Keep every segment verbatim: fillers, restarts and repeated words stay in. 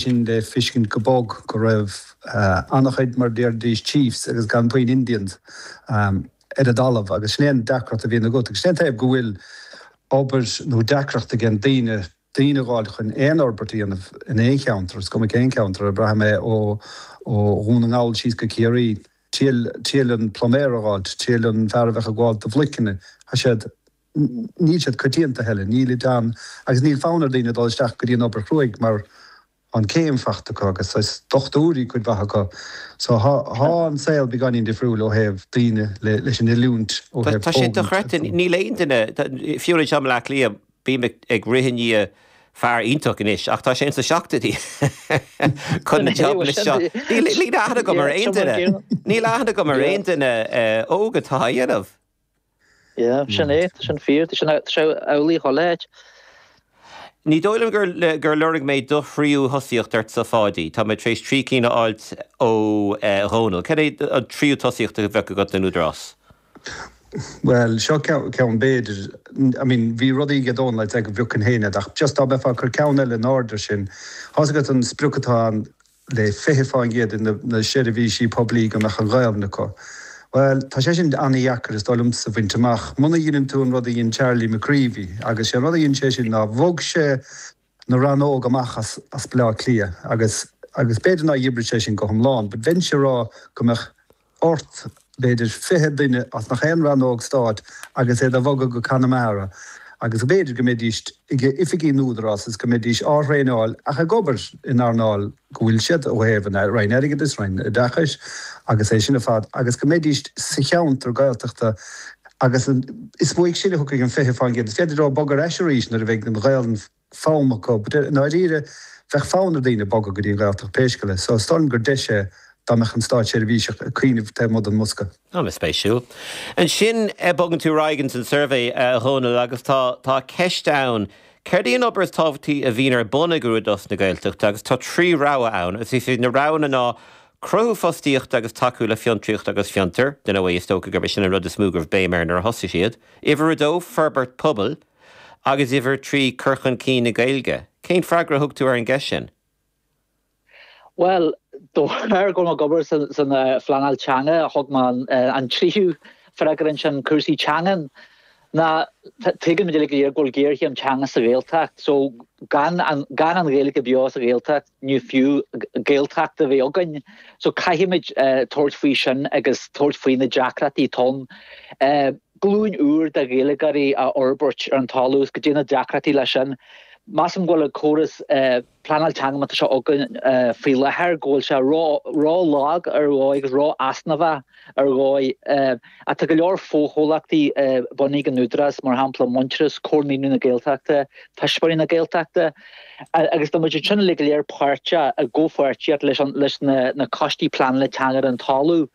Sin le feiscint go bog go raibh uh, an-chuid mar déarfaidís chiefs agus gan puinn Indians um, ar an dtalamh agus sin an deacracht a bhíonn agat agus sin taobh go bhfuil obair nó deacracht ag an daoine daoine fháil chun aon fhorbairt a dhéanamh in aon cheantar, is cuma cén ceantar a braithim é ó ó Dhún na nGall síos go Ciarraí triail an pluiméir a fháil, triail an fear a bheith ag gabháil do bhloiceanna tá siad níl siad coitianta heile, níl dan agus níl fonn ar daoine dul isteach go dtí an obair chruaidh mar an céim fachta acu agus is dochtúirí cuid mhaith acu. So tá an saol beagáinín difriúil ó thaobh daoine leis an oiliúint ó Tá sé dochreidte níl aon duine fiú i mBaile Átha Cliath bím ag rith i ndiaidh fear iontach anois ach tá sé insa seachtóidí chun na job seo. Níl aithne agam ar aon duine. Níl aithne agam ar aon duine óg atá á dhéanamh. Sin é sin fíor sin amhlaidh chuile áit. Ní dóigh liom gur gur lorg mé do thríú thosaíocht ort sa Pháidí, Tá mé tar éis trí cinn a fháilt ó Dhónal. Cé é an tríú tosaíocht a bheadh agat den Údarás? Well seo ceann b'fhéidir I mean bhí rudaí ag Dónal le go bhiocann héine ach just dá mbeifeá chur ceann eile in airde sin. Tá agat an sprioc atá ann le fiche faoin gcéad na seirbhísí poiblí go mbeadh an Ghaeilge acu. Well tá sé sin an-deacair is dóigh liomsa a bhaint amach. Muna dhéanann tú an rud a dhein Charlie McCreevy agus sé an rud a dhein sé sin ná bhog sé na rannóg amach as, as Baile Átha Cliath agus agus b'fhéidir nár oibrigh sé sin go hiomlán, but bheinn ag rá go mbeadh ort b'fhéidir fiche duine as nach aon rannóg stáit agus é a bhogadh go Conamara. agus b'fhéidir go mbeidís ag oifigí an Údarás is go mbeidís á thraenáil ach ag obair in earnáil go bhfuil siad ó thaobh an Roinn Airgeadais Roinn Oideachais agus é sin ar fad agus go mbeidís sa cheantar Gaeltachta agus is uaidh sin a thiocfaidh an fiche faoin gcéad. Is féidir leo bogadh ar ais arís nuair a bheidh an Ghaeilge foghlama acu, dáiríre bheadh fonn ar daoine bogadh go dtí an Ghaeltacht pé scéal é, so is dóigh liom gur deis é dá mbeadh an státseirbhíseach ag cuimhneamh taobh amuigh den mbosca. An-spéisiúil. Ansin bogann tú ar aghaidh san suirbhé a Dhónaill agus tá tá ceist ann. Céard í an obair is tábhachtaí a bhíonn ar bun ag Údarás na Gaeltachta agus tá trí rogha ann, is í na roghanna ná cruthú fostaíochta agus tacú le fiontraíocht agus fiontar, den ó is dócha gurb sin an rud is mó go raibh béim air nuair a thosaigh siad. Uimhir a dó forbairt pobail agus uimhir trí cur chun cinn na Gaeilge. Cén freagra a thug tú ar an gceist sin? Well de bharr go ag obair san san phleanáil teanga thug mé an tríú freagra sin cúrsaí teangan ná tuigeann muid go bhfuil géarchéim teanga sa Ghaeltacht, so gan an gan an Ghaeilge beo sa Ghaeltacht ní fiú Gaeltacht a bheith againn. So caithfimid uh, tabhairt faoi sin agus tabhairt faoi na deacrachtaí atá. Uh, glúin úr de Ghaeilgeoirí a fhorbairt ar an talamh go dtí na deacrachtaí leis sin. Measaim go bhfuil an córas uh, pleanáil teanga atá againn uh, faoi láthair go bhfuil sé ró-lag ar dhóigh agus ró-easnamhach ar dhóigh uh, atá go leor fochomhlachtaí uh, bunaithe ag an Údarás mar shampla Muintearas Comhar na Gaeltachta, Tuismitheoirí na Gaeltachta, agus tá muid sin le go léir páirteach i gcomhpháirtíocht leis leis na, na coistí pleanála teanga ar an talamh,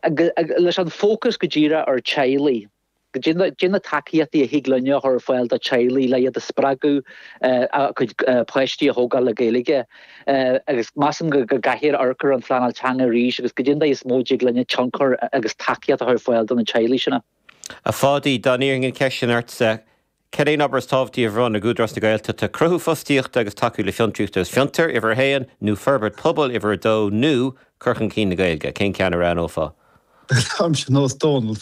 leis an fócas go díreach ar teaghlaigh. Cad é na tacaíochtaí a thig linn a chur ar fáil do teaghlaigh le iad a spreagadh a gcuid páistí a thógáil le Gaeilge agus measaim go gcaithfear amharc ar an phleanáil teanga arís agus cad é is mó a thig linne tionchar agus tacaíocht a chur ar fáil do na teaghlaigh sin. A Pháidí dá n-iarrfainn an cheist sin ortsa Cad é an obair is tábhachtaí a bhíonn ag Údarás na Gaeltachta cruthú fostaíochta agus tacú le fiontraíocht agus fiontar uimhir a haon nó forbairt pobail uimhir a dó nó cur chun cinn na Gaeilge, cén ceann a roghnófá? Am sin nós Dónal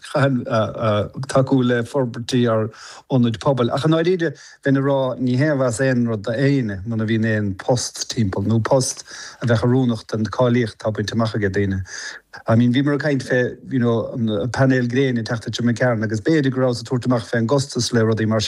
tacú le forbairtí ar ionaid pobail. Ach an áiríde bheinn ag rá ní haon mhaith aon rud d'aoinne muna bhíonn aon post timpeall nó post a bheith oiriúnach don cháilíocht atá bainte amach ag daoine. I mean bhí mar caint fé you know, an painéil gréine teachta McCarran agus b'fhéidir go raibh sa tabhairt amach fé an gcostas le rudaí mar